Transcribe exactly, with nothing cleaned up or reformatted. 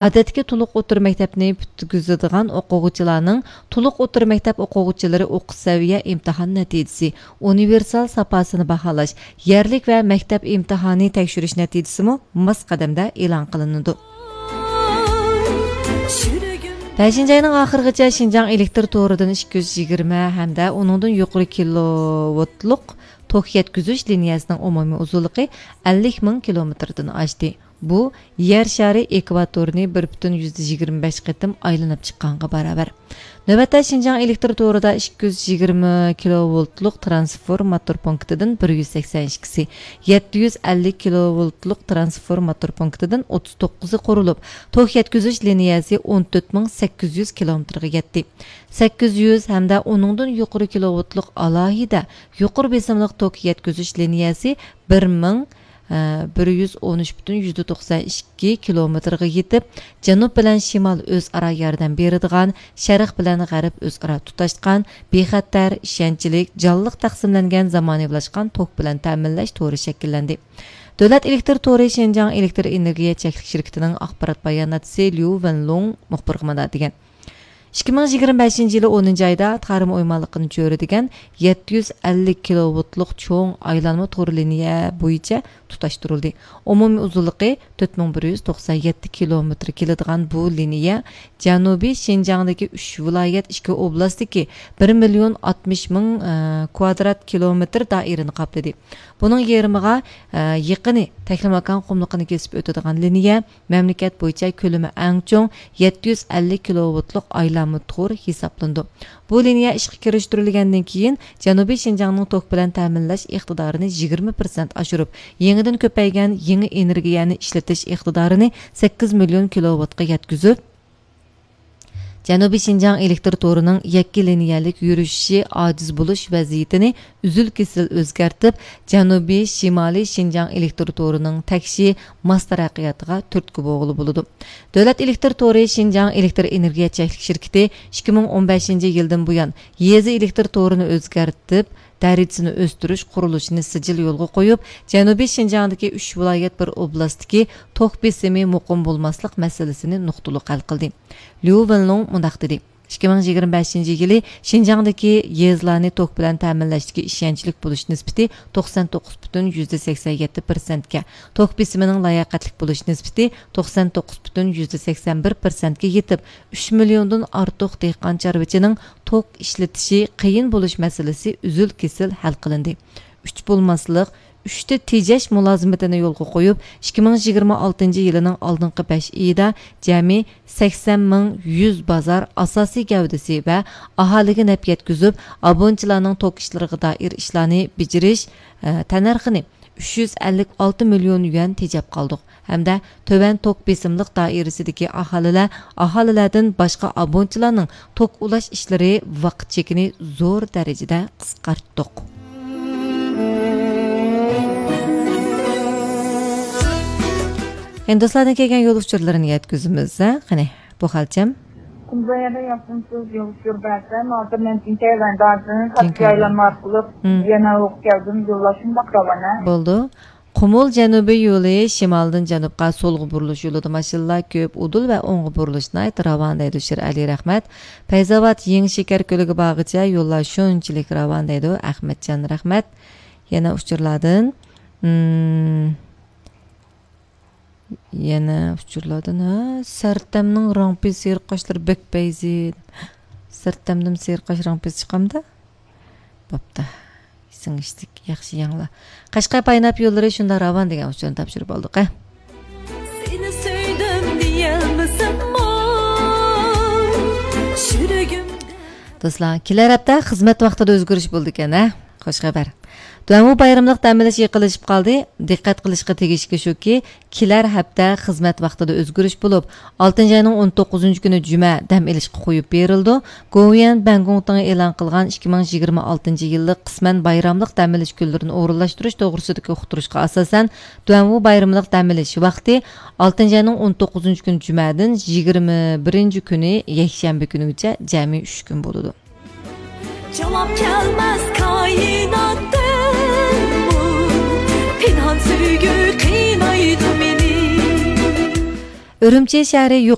ئادەتتىكى تولۇق ئوتتۇرا مەكتەپنى پۈتكۈزىدىغان ئوقۇغۇچىلارنىڭ تولۇق ئوتتۇرا مەكتەپ ئوقۇغۇچىلىرى ئوقۇش سەۋىيە ئىمتىھان نەتىجىسى، ئۇنىۋېرسال ساپاسىنى باھالاش، يەرلىك ۋە مەكتەپ ئىمتىھانى تەكشۈرۈش نەتىجىسىمۇ ماس قەدەمدە ئېلان قىلىنىدۇ. بەشىنچى ئاينىڭ ئاخىرىغىچە شىنجاڭ ئېلېكتىر تورىدىن ئىككى يۈز يىگىرمە ھەمدە ئۇنىڭدىن يۇقىرى كىلوۋولتلۇق توك يەتكۈزۈش لىنىيەسىنىڭ ئومۇمىي ئۇزۇنلۇقى ئەللىك مىڭ كىلومېتىردىن ئاشتى. بۇ يەر شارى ئېكۋاتورىنى بىر پۈتۈن يۈزدە يىگىرمە بەش قېتىم ئايلىنىپ چىققانغا باراۋەر. نۆۋەتتە شىنجاڭ ئېلېكتىر تورىدا ئىككى يۈز يىگىرمە كىلوۋولتلۇق ترانسفورماتور پونكىتىدىن بىر يۈز سەكسەن ئىككىسى، يەتتە يۈز ئەللىك كىلوۋولتلۇق ترانسفورماتور پونكىتىدىن ئوتتۇز توققۇزى قۇرۇلۇپ، توك يەتكۈزۈش لىنىيەسى ئون تۆت مىڭ سەككىز يۈز كىلومېتىرغا يەتتى. سەككىز يۈز ھەمدە ئۇنىڭدىن يۇقىرى كىلوۋولتلۇق ئالاھىدە يۇقىرى بېسىملىق توك يەتكۈزۈش لىنىيەسى بىر مىڭ، ئە، بىر يۈز ئون ئۈچ پۈتۈن يۈزدە توقسان ئىككى كىلومېتىرغا يېتىپ، جەنۇب بىلەن شىمال ئۆزئارا ياردەم بېرىدىغان، شەرق بىلەن غەرب ئۆزئارا تۇتاشقان، بىخەتەر، ئىشەنچلىك، جانلىق تەقسىملەنگەن زامانىۋىلاشقان توك بىلەن تەمىنلەش تورى شەكىللەندى. دۆلەت ئېلېكتىر تورى شىنجاڭ ئېلېكتىر ئېنېرگىيە چەكلىك شىركىتىنىڭ ئاخبارات باياناتچىسى ليۇ ۋېنلۇڭ مۇخبىرغا مۇنداق دېگەن. ئىككى مىڭ يىگىرمە بەشىنچى يىلى ئونىنچى ئايدا تارىم ئويمانلىقىنى چۆرىدىگەن يەتتە يۈز ئەللىك كىلوۋولتلۇق چوڭ ئايلانما تور لىنىيە بويىچە تۇتاشتۇرۇلدى. ئومۇمىي ئۇزۇنلۇقى تۆت مىڭ بىر يۈز توقسان يەتتە كىلومېتىر كېلىدىغان بۇ لىنىيە جەنۇبىي شىنجاڭدىكى ئۈچ ۋىلايەت، ئىككى ئوبلاستتىكى بىر مىليون ئاتمىش مىڭ، ئە، كۋادرات كىلومېتىر دائىرىنى قاپلىدى. بۇنىڭ يېرىمىغا، ئە، يېقىنى تەكلىماكان قۇملۇقىنى كېسىپ ئۆتىدىغان لىنىيە مەملىكەت بويىچە كۆلىمى ئەڭ چوڭ يەتتە يۈز ئەللىك كىلوۋولتلۇق ئايلانما تور ھېسابلىنىدۇ. بۇ لىنىيە ئىشقا كىرىشتۈرۈلگەندىن كېيىن، جەنۇبىي شىنجاڭنىڭ توك بىلەن تەمىنلەش ئىقتىدارىنى يىگىرمە پىرسەنت ئاشۇرۇپ، يېڭىدىن كۆپەيگەن يېڭى ئېنېرگىيەنى ئىشلىتىش ئىقتىدارىنى سەككىز مىليون كىلوۋولتقا يەتكۈزۈپ، جەنۇبىي شىنجاڭ ئېلېكتىر تورىنىڭ يەككە لىنىيەلىك يۈرۈشۈشى ئاجىز بولۇش ۋەزىيىتىنى ئۈزۈل-كېسىل ئۆزگەرتىپ، جەنۇبىي، شىمالىي شىنجاڭ ئېلېكتىر تورىنىڭ تەكشى، ماس تەرەققىياتىغا تۈرتكە بولغىلى بولىدۇ. دۆلەت ئېلېكتىر تورى شىنجاڭ ئېلېكتىر ئېنېرگىيە چەكلىك شىركىتى ئىككى مىڭ ئون بەشىنچى يىلدىن بۇيان، يېزا ئېلېكتىر تورىنى ئۆزگەرتىپ، دەرىجىسىنى ئۆستۈرۈش قۇرۇلۇشىنى سىجىل يولغا قويۇپ، جەنۇبىي شىنجاڭدىكى ئۈچ ۋىلايەت، بىر ئوبلاستتىكى توك بېسىمى مۇقىم بولماسلىق مەسىلىسىنى نۇقتىلىق ھەل قىلدى. ليۇ ۋېنلۇڭ مۇنداق دېدى: ئىككى مىڭ يىگىرمە بەشىنچى يىلى شىنجاڭدىكى يېزىلارنى توك بىلەن تەمىنلەشتىكى ئىشەنچلىك بولۇش نىسبىتى توقسان توققۇز پۈتۈن يۈزدە سەكسەن يەتتە پىرسەنتكە، توك بېسىمىنىڭ لاياقەتلىك بولۇش نىسبىتى توقسان توققۇز پۈتۈن يۈزدە سەكسەن بىر پىرسەنتكە يېتىپ، ئۈچ مىليوندىن ئارتۇق دېھقان چارۋىچىنىڭ توك ئىشلىتىشى قىيىن بولۇش مەسىلىسى ئۈزۈل-كېسىل ھەل قىلىندى. ئۈچ بولماسلىق، ئۈچتە تېجەش مۇلازىمىتىنى يولغا قويۇپ، ئىككى مىڭ يىگىرمە ئالتىنچى يىلىنىڭ ئالدىنقى بەش ئېيىدا جەمئىي سەكسەن مىڭ يۈز بازار ئاساسىي گەۋدىسى ۋە ئاھالىگە نەپ يەتكۈزۈپ، ئابۇنىچىلارنىڭ توك ئىشلىرىغا دائىر ئىشلارنى بېجىرىش، ئە، تەننەرخىنى ئۈچ يۈز ئەللىك ئالتە مىليون يۈەن تېجەپ قالدۇق ھەمدە تۆۋەن توك بېسىملىق دائىرىسىدىكى ئاھالىلەر، ئاھالىلەردىن باشقا ئابۇنىچىلارنىڭ توك ئۇلاش ئىشلىرى ۋاقىت چېكىنى زور دەرىجىدە قىسقارتتۇق. ئەمدى دوستلاردىن كەلگەن يول ئۇچۇرلىرىنى يەتكۈزىمىز، ھە؟ قېنى، بۇ خالچەم. قۇمۇل يەردە ياخشىمۇسىز؟ يول ئۇچۇر بەرسەم، ھازىر مەن جىنكەي ۋەندادىن تاكسى ئايلانما ئارقىلىق يەنە ئوقۇپ كەلدىم. يوللاشمۇ بەك راۋان، ھە؟ بولدى. قۇمۇل جەنۇبىي يولى شىمالدىن جەنۇبقا سولغا بۇرۇلۇش يولىدا ماشىنىلار كۆپ، ئۇدۇل ۋە ئوڭغا بۇرۇلۇش ناھايىتى راۋان، دەيدۇ شىرئەلى رەھمەت. پەيزاۋات يېڭى شېكەر كۆلىگە بارغىچە يوللار شۇنچىلىك راۋان، دەيدۇ ئەخمەتجان رەھمەت. يەنە ئۇچۇرلاردىن، مم، يەنە ئۇچۇرلاردىن، ھە، سەرتەمنىڭ رامپى سېرىق قاشلىرى بەك پەيزى. سەرتەمدىن سېرىق قاش رامپىسى چىقامدا؟ بوپتۇ. سىڭىشتىك، ياخشى يەڭلا. قەشقەر پايناپ يوللىرى شۇنداق راۋان دېگەن ئۇچۇرنى تاپشۇرۇپ ئالدۇق، ھە. سېنى سۆيدۈم دېيەلمىسەممۇ، يۈرىكىمدە. دوستلار، كېلەر ھەپتە خىزمەت ۋاقتىدا ئۆزگىرىش بولىدىكەن، ھە؟ خوش خەۋەر. دۇەنۋۇ بايرىملىق دەم ئېلىش يېقىنلىشىپ قالدى. دىققەت قىلىشقا تېگىشلىكى شۇكى، كېلەر ھەپتە خىزمەت ۋاقتىدا ئۆزگىرىش بولۇپ، ئالتىنچى ئاينىڭ ئون توققۇزىنچى كۈنى جۈمە دەم ئېلىشقا قويۇپ بېرىلىدۇ. گوۋۇيۈەن بەنگوڭتىڭ ئېلان قىلغان ئىككى مىڭ يىگىرمە ئالتىنچى يىللىق قىسمەن بايراملىق دەم ئېلىش كۈنلىرىنى ئورۇنلاشتۇرۇش توغرىسىدىكى ئۇقتۇرۇشقا ئاساسەن، دۇەنۋۇ بايرىملىق دەم ئېلىش ۋاقتى ئالتىنچى ئاينىڭ ئون توققۇزىنچى كۈنى جۈمەدىن يىگىرمە بىرىنچى كۈنى يەكشەنبە كۈنىگىچە جەمئىي ئۈچ كۈن بولىدۇ. جاۋاب كەلمەس كائىناتتىن، بۇ پىنھان سۆيگۈ قىينايدۇ مېنى. ئۈرۈمچى شەھىرى